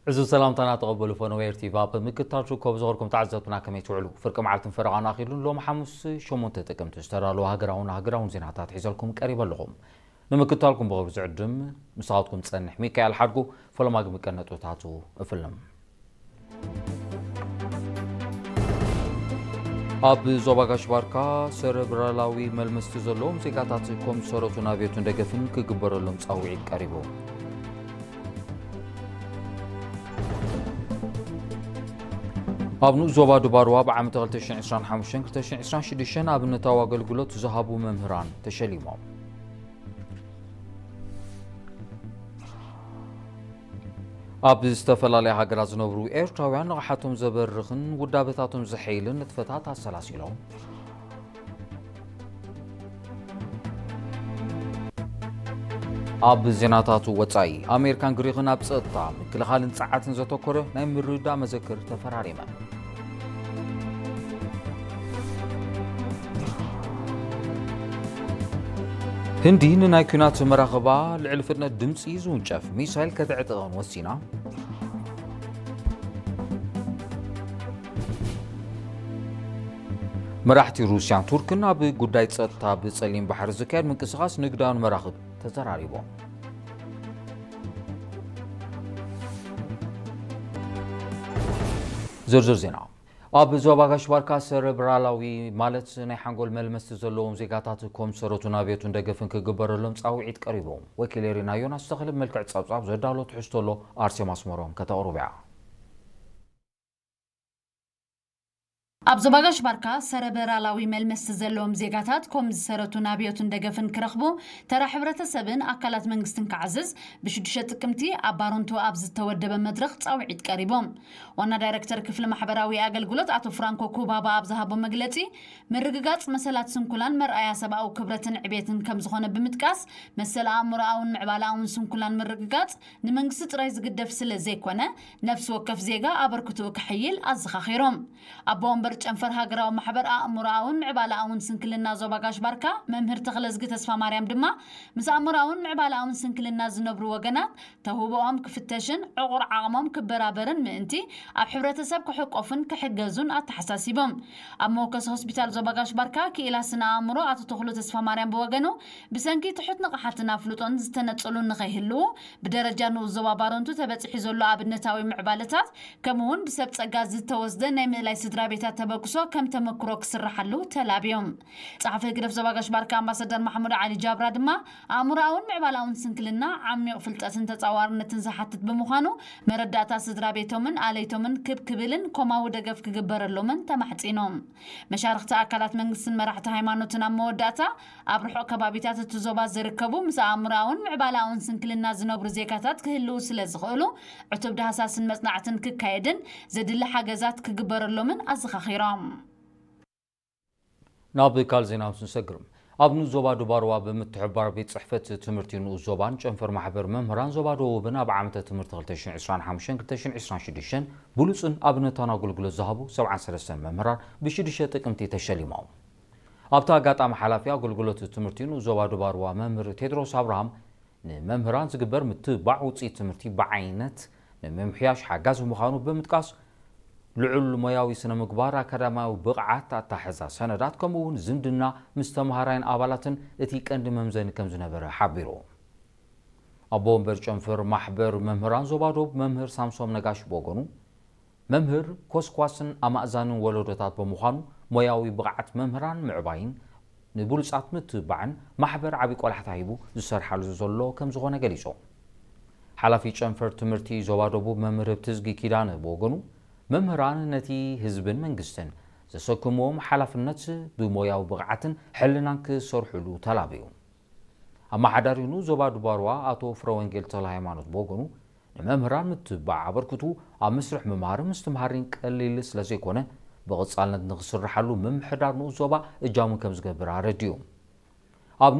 ዕዙዝ ሰላምታና ተቐበሉ ፈነወ ኤር ቲ ቪ። ኣብ ምክትታል ትርከቡ ዝኸርኩም ተዓዘብትና ከመይ ትውዕሉ? ፍርቂ መዓልትን ፈረቓን ኣኺሉን ሎም ሓሙስ ሸሞንተ ጥቅምቲ ዝተዳለወ ሃገራውን ሃገራውን ዜናታት ሒዘልኩም ቀሪበ ኣለኹም። ንምክትታልኩም ብኽብሪ ዝዕድም ምሳኻትኩም ዝጸንሕ ሚካኤል ሓድጉ። ፈለማ ግን ቀንዲ ነጥብታቱ እፍልም። ኣብ ዞባ ጋሽ ባርካ ሰረብራላዊ መልመስቲ ዘለዎም ዜጋታት ኮም ሰረቱን ኣብዮትን ደገፍን ክግበረሎም ጻውዒት ቀሪቡ። ኣብ ንኡስ ዞባ ዱባርዋ ብዓመተ ክልተ ሽሕን ዕስራን ሓሙሽተን ክልተ ሽሕን ዕስራን ሽዱሽተን ኣብነታዊ ኣገልግሎት ዝሃቡ መምህራን ተሸሊሞም። ኣብ ዝተፈላለያ ሃገራት ዝነብሩ ኤርትራውያን ንቕሓቶም ዘበርኽን ውዳበታቶም ዘሐይልን ንጥፈታት ኣሰላሲሎም። ኣብ ዜናታት ወጻኢ፣ ኣሜሪካን ግሪኽን ኣብ ጸጥታ፣ ምክልኻልን ጸዓትን ዘተኮረ ናይ ምርድዳእ መዘክር ተፈራሪመን። ህንዲ ንናይ ኲናት መራኽባ ልዕሊ ፍጥነት ድምጺ ዝውንጨፍ ሚሳይል ከተዕጥቐን ወሲና። መራሕቲ ሩስያን ቱርክን ኣብ ጉዳይ ጸጥታ ብጸሊም ባሕሪ ዝካየድ ምንቅስቓስ ንግዳውን መራኽብ ተዘራሪቦም። ዝርዝር ዜና። ኣብ ዞባ ጋሽ ባርካ ሰረብራላዊ ማለት ናይ ሓንጎል መልመስቲ ዘለዎም ዜጋታት ኮም ሰረቱን ኣብዮቱን ደገፍን ክግበረሎም ጻውዒት ቀሪቦም። ወኪል ኤሪና ዮናስ ተኽለ መልክዕ ጸብጻብ ዘዳሎ ትሕዝቶ ኣሎ፣ ኣርሴማ ኣስመሮም ከተቕርብያ። ኣብ ዞባ ጋሽ ባርካ ሰረበራላዊ መልመስቲ ዘለዎም ዜጋታት ኮም ዝሰረቱን ኣብዮቱን ደገፍን ክረኽቡ ተራ ሕብረተሰብን ኣካላት መንግስትን ክዓዝዝ ብሽዱሽተ ጥቅምቲ ኣብ ባሮንቶ ኣብ ዝተወደበ መድረኽ ጻውዒት ቀሪቦም። ዋና ዳይረክተር ክፍሊ ማሕበራዊ ኣገልግሎት ኣቶ ፍራንኮ ኩባባ ኣብ ዝሃቦ መግለጺ፣ ምርግጋጽ መሰላት ስንኩላን መርኣያ ሰብኣዊ ክብረትን ዕቤትን ከም ዝኾነ ብምጥቃስ፣ መሰል ኣእምሮኣውን ምዕባለኣውን ስንኩላን ምርግጋጽ ንመንግስቲ ጥራይ ዝግደፍ ስለ ዘይኮነ፣ ነፍሲ ወከፍ ዜጋ ኣበርክትኡ ከሐይል ኣዘኻኺሮም። ኣቦ ወንበር ጨንፈር ሃገራዊ ማሕበር ኣእምሮኣውን ምዕባለኣውን ስንክልና ዞባ ጋሽ ባርካ መምህር ተኽለዝጊ ተስፋ ማርያም ድማ፣ ምስ ኣእምሮኣውን ምዕባለኣውን ስንክልና ዝነብሩ ወገናት ተውህቦኦም ክፍተሽን ዕቑር ዓቕሞም ክበራበርን ምእንቲ ኣብ ሕብረተሰብ ክሕቆፉን ክሕገዙን ኣተሓሳሲቦም። ኣብ መወከሲ ሆስፒታል ዞባ ጋሽ ባርካ ክኢላ ስነ ኣእምሮ ኣቶ ተኽሉ ተስፋ ማርያም ብወገኑ፣ ብሰንኪ ትሑት ንቕሓትን ኣፍልጦን ዝተነጸሉ ንኸይህልዉ፣ ብደረጃ ንኡስ ዞባ ባረንቱ ተበጺሑ ዘሎ ኣብነታዊ ምዕባለታት፣ ከምኡውን ብሰብ ጸጋ ዝተወስደ ናይ ምእላይ ስድራ ቤታት ተበግሶ ከም ተመክሮ ክስርሓሉ ተላብዮም። ጸሓፊ ህግደፍ ዞባ ጋሽ ባርካ ኣምባሳደር ማሕሙድ ዓሊ ጃብራ ድማ፣ ኣእምሮኣውን ምዕባላውን ስንክልና ዓሚቕ ፍልጠትን ተጻዋርነትን ዝሓትት ብምዃኑ፣ መረዳእታ ስድራ ቤቶምን ኣለይቶምን ክብ ክብልን ኮማዊ ደገፍ ክግበረሎምን ተማሕጺኖም። መሻርኽቲ ኣካላት መንግስትን መራሕቲ ሃይማኖትን ኣብ መወዳእታ፣ ኣብ ርሑቕ ከባቢታት እቲ ዞባ ዝርከቡ ምስ ኣእምሮኣውን ምዕባላኣውን ስንክልና ዝነብሩ ዜጋታት ክህልዉ ስለ ዝኽእሉ፣ ዕቱብ ዳህሳስን መጽናዕትን ክካየድን ዘድሊ ሓገዛት ክግበረሎምን ኣዘኻኺሮም። ናብ ካልእ ዜና ምስ ንሰግር፣ ኣብ ንኡስ ዞባ ዱባርዋ ብምትሕብባር ቤት ጽሕፈት ትምህርቲ ንኡስ ዞባን ጨንፈር ማሕበር መምህራን ዞባ ደቡብን ኣብ ዓመተ ትምህርቲ ክልተ ሽሕን ዕስራን ሓሙሽተን ክልተ ሽሕን ዕስራን ሽዱሽተን ብሉጽን ኣብነታውን ኣገልግሎት ዝሃቡ ሰብዓን ሰለስተን መምህራን ብሽዱሽተ ጥቅምቲ ተሸሊሞም። ኣብቲ ኣጋጣሚ ሓላፊ ኣገልግሎት ትምህርቲ ንኡስ ዞባ ዱባርዋ መምህር ቴድሮስ ኣብርሃም፣ ንመምህራን ዝግበር ምትብባዕ ውፅኢት ትምህርቲ ብዓይነት ንምምሕያሽ ሓጋዚ ምዃኑ ብምጥቃስ፣ ልዑል ሞያዊ ስነ ምግባር፣ ኣካዳሚያዊ ብቕዓት፣ ኣታሕዛ ሰነዳት ከምኡ እውን ዝምድና ምስ ተምሃራይን ኣባላትን እቲ ቀንዲ መምዘኒ ከም ዝነበረ ሓቢሩ። ኣቦ ወንበር ጨንፈር ማሕበር መምህራን ዞባ ዶብ መምህር ሳምሶም ነጋሽ ብወገኑ፣ መምህር ኮስኳስን ኣማእዛንን ወለዶታት ብምዃኑ፣ ሞያዊ ብቕዓት መምህራን ምዕባይን ንብሉጻት ምትብባዕን ማሕበር ዓቢ ቆላሕታ ሂቡ ዝሰርሓሉ ዘሎ ከም ዝኾነ ገሊጹ። ሓላፊ ጨንፈር ትምህርቲ ዞባ ደቡብ መምህር ህብትዝጊ ኪዳነ ብወገኑ፣ መምህራን ነቲ ህዝብን መንግስትን ዘሰክምዎም ሓላፍነት ብሞያዊ ብቕዓትን ሕልናን ክሰርሑሉ ተላብዩ። ኣመሓዳሪ ንኡስ ዞባ ዱባርዋ ኣቶ ፍረወንጌል ተክለሃይማኖት ብወገኑ፣ ንመምህራን ምትብባዕ ኣበርክቱ ኣብ መስርሕ ምምሃርን ምስትምሃርን ቀሊል ስለ ዘይኮነ፣ ብቐጻልነት ንኽስርሓሉ ምምሕዳር ንኡስ ዞባ እጃሙ ከም ዝገብር ኣረዲኡ። ኣብ ንኡስ